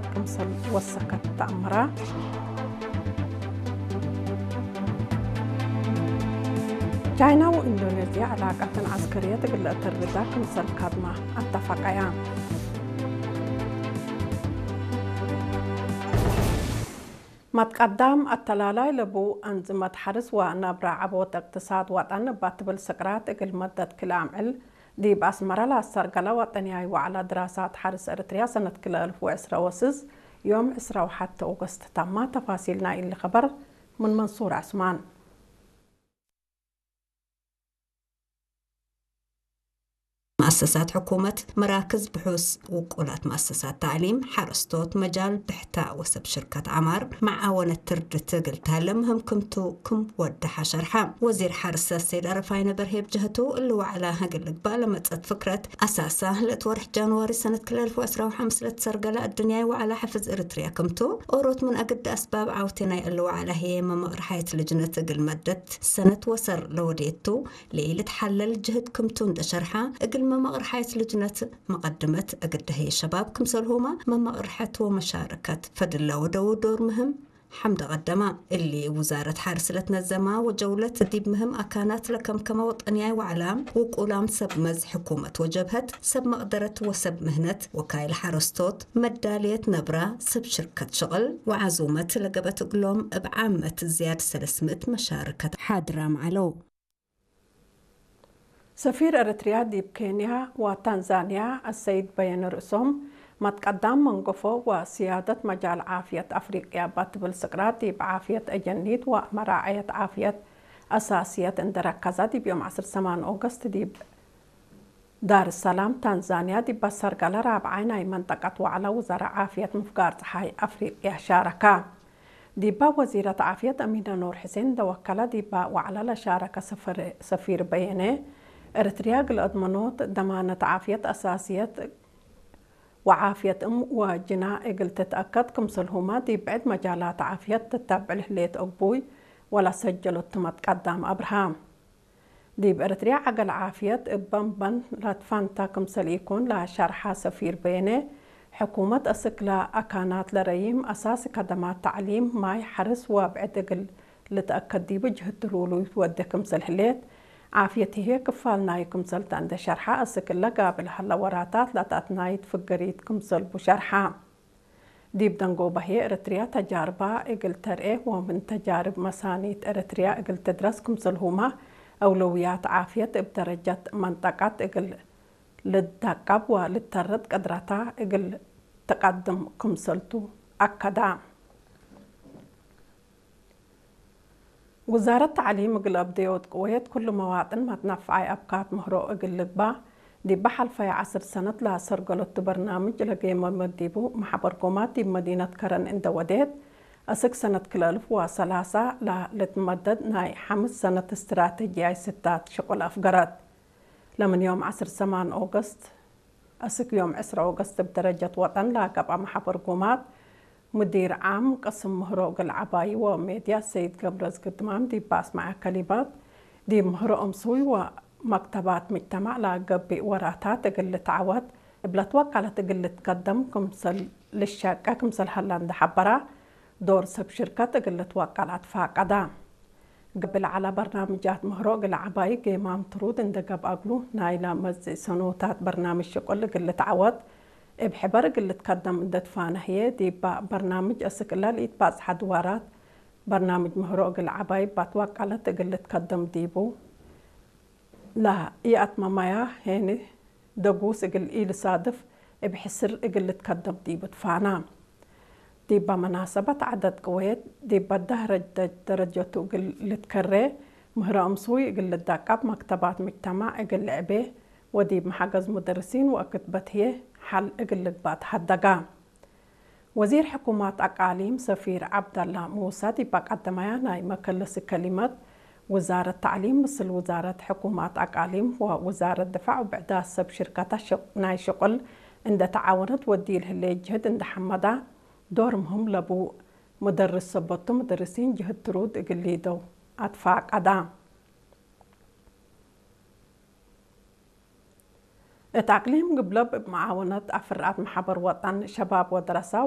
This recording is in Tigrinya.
ክምሰል ወሰከት ተኣምራ። ቻይና ወኢንዶኔዝያ ዕላቃተን ዓስከርየት እግለ እተርዳ ክምሰል ካድማ ኣተፋቀያ። ማትቃዳም ኣተላላይ ለቡ ኣንዝመት ሓርስ ወናብራ ዓቦት እቅትሳድ ዋጣን እባ ትብል ስቅራት እግል መደት ክልኣምዕል ዲብ ኣስመራ ላሰርገላ ዋጠንያይ ዋዕላ ድራሳት ሓርስ ኤርትርያ ሰነት ክለ እልፍ ወዕስራ ወስዝ ዮም ዕስራ ወሓተ ኦገስት ታማ። ተፋሲል ናይ እሊ ኸበር ምን መንሱር ዐስማን። መኣሰሳት ሕኩመት፣ መራክዝ ብሑስ፣ ውቁላት መኣሰሳት ታዕሊም፣ ሓረስቶት፣ መጃል ብሕታ ወሰብ ሽርከት ዓማር መዓወነት ትርድት እግል ታለም ህምክምቱ ክም ወደሓ ሸርሓ። ወዚር ሓርሰ ሰይድ ኣረፋይነ በርሄ ብጀህቱ እሊ ዋዕላ እግል ልግባእ ለመጸት ፍክረት ኣሳሳ ለእት ወርሕ ጃንዋሪ ሰነት ክልተ ኣልፍ ወዕስራ ወሓምስ ለትሰርገላ እድንያይ ዋዕላ ሓፍዝ ኤርትርያ ክምቱ ኦሮት ምን ኣግዲ ኣስባብ ዓውቲ ናይ እሊ ዋዕላ ህየ መመቕርሓየት ልጅነት እግል መደት ሰነት ወሰር ለወዴቱ ለኢልትሓለል ጅህድ ክምቱ እንደ ሸርሓ፣ እግል መመቕርሓየት ልጅነት መቐድመት እግል ደህየ ሸባብ ክምሰልሁማ መመቕርሐት ወመሻረከት ፈድላ ወደው ዶር ምህም ሓምደ ቀደማ። እሊ ውዛረት ሓርስ ለትነዘማ ወጀውለት ዲብ ምህም ኣካናት ለከምከመ ወጠንያይ ዋዕላ ውቁላም ሰብ መዝ ሕኩመት ወጀብሀት ሰብ መቕደረት ወሰብ ምህነት ወካይል ሓረስቶት መዳልየት ነብራ ሰብ ሽርከት ሽቕል ወዓዙመት ለገበት እግሎም እብ ዓመት ዝያድ ሰለስምእት መሻርከት ሓድራም ዓለው። ሰፊር ኤርትርያ ዲብ ኬንያ ወታንዛንያ ኣሰይድ በየነ ርእሶም፣ ማትቀዳም መንገፎ ወስያደት መጃል ዓፍየት ኣፍሪቅያ ባትብል ስቅራት ዲብ ዓፍየት ኤጀኒት ወመራዐየት ዓፍየት ኣሳስየት እንደረከዛ ዲብ ዮም ዓሰርተ ሰማን ኦገስት ዲብ ዳር ሰላም ታንዛንያ ዲብ ኣሰርገለ ራብዓይ ናይ መንጠቀት ዋዕላ ውዘራ ዓፍየት ምፍጋር ፀሓይ ኣፍሪቅያ ሻረካ። ዲባ ወዚረት ዓፍየት ኣሚና ኑር ሕሴን ደወከላ ዲባ ዋዕላ ለሻረከ ሰፈር-፣ ሰፊር በየነ፣ ኤርትርያ ግል ኣድመኖት ደማነት ዓፍየት ኣሳስየት ወዓፍየት እም ወጅና እግል ትትኣከድ ክምሰልሁማ ዲብ ብዕድ መጃላት ዓፍየት ትተብዕል ህሌት እቡይ ወላ ሰጀሎት ትመት ቀዳም ኣብርሃም። ዲብ ኤርትርያ ዓገል ዓፍየት እበንበን ላትፋንታ ክምሰል ኢኮን ላሸርሓ ሰፊር በየነ፣ ሕኩመት እስክላ ኣካናት ለረይም ኣሳሲ ከደማት ታዕሊም፣ ማይ፣ ሐርስ ወብዕድ እግል ልትአከድ ዲቡ ጅህድ ትሉሉ ይትወደ ክምሰል ህሌት፣ ዓፍየት ህዬ ክፋል ናዩ ክምሰልታ እንደ ሸርሓ፣ እስክለ ጋብል ሀለ ወራታት ላታትናይት ፍገሪት ክምሰልቡ ሸርሓ። ዲብ ደንጎ በህየ ኤረትርያ ተጃርባ እግል ተርኤ ወምን ተጃርብ መሳኒት ኤረትርያ እግል ትድረስ ክምሰልሁማ፣ አውለውያት ዓፍየት እብ ደረጀት መንጠቀት እግል ልዳቀብ ወልተርድ ቅድረታ እግል ትቀድም ክምሰልቱ አከዳ። ውዛረት ተዕሊም እግል አብደዮት ቅወየት ኩሉ መዋጥን መትነፍዓይ አብካት ምህሮ እግል ልግባእ፣ ዲብ ሐልፈየ ዐስር ሰነት ለአሰርገሎቱ በርናምጅ ለጌመ መዲቡ መሐበርጎማት ዲብ መዲነት ከረን እንደ ወዴት፣ አስክ ሰነት ክልተ አልፍ ወሰላሳ ለልትመደድ ናይ ሐምስ ሰነት እስትራተጂያይ ስታት ሽቁል አፍገረት። ለምን ዮም ዐስር ሰማን ኦገስት አስክ ዮም ዕስራ ኦገስት እብ ደረጀት ወጠን ለአገብአ መሐበርጎማት፣ ሙዲር ዓም ቅስም ምህሮ እግል ዐባዩ ወሜድያ ሰይድ ገብረዝጊ ድማም ዲብ አስመዐ ከሊማት፣ ዲብ ምህሮ እምስዊ ወመክተባት ምጅተማዕ ለአገብእ ወራታት እግል ልትዐወት እብ ለትወቀለት እግል ልትከደም ክምሰል ልሸቀ ክምሰል ሀላ እንደ ሐበራ፣ ዶር ሰብ ሽርከት እግል ልትወቀል አትፋቀዳ። ገብእ ለዐለ በርናምጃት ምህሮ እግል ዐባይ ጌማም ትሩድ እንደ ገብአ እግሉ፣ ናይላ መጽእ ሰኖታት በርናምጅ ሽቁል እግል ልትዐወት እብ ሕበር እግል ልትከደም እንደ ትፋነ ህዬ፣ ዲባ በርናምጅ አስክ እለ ለኢትባጽሐ ድዋራት በርናምጅ ምህሮ እግል ዐባይ ባትወቀለት እግል ልትከደም ዲቡ። ለኢአትመመያ ሄኒ ደጉስ እግል ኢልሳድፍ እብ ሕስር እግል ልትከደም ዲቡ ትፋና። ዲባ መናሰበት ዐደት ቅወየት ዲባ ዳህረጅ ደረጀቱ እግል ልትከሬ፣ ምህረ እምስዊ እግል ልዳቀብ፣ መክተባት ምጅተማዕ እግል ልዕቤ ወዲብ መሐገዝ ሙደርሲን ወአክትበት ህዬ ሐል እግል ልግባእ ተሀደጋ። ወዚር ሕኩማት አቃሊም ሰፊር ዐብደላ ሙሳ ዲብ አቀደመያ ናይ መከለሲ ከሊመት፣ ውዛረት ተዕሊም ምስል ውዛረት ሕኩማት አቃሊም ወውዛረት ድፋዕ ወብዕዳት ሰብ ሽርከታ ሽቅ-፣ ናይ ሽቁል እንደ ተዓወነት ወዲል ህሌ ጅህድ እንደ ሐመዳ፣ ዶር ምህም ለቡ ሙደርስ ሰበቱ ሙደርሲን ጅህድ ትሩድ እግል ሊደው አትፋቀዳ። እት አቅሊም ግብለብ እብ መዓወነት አፍርአት መሓበር ወጠን ሸባብ ወደረሳ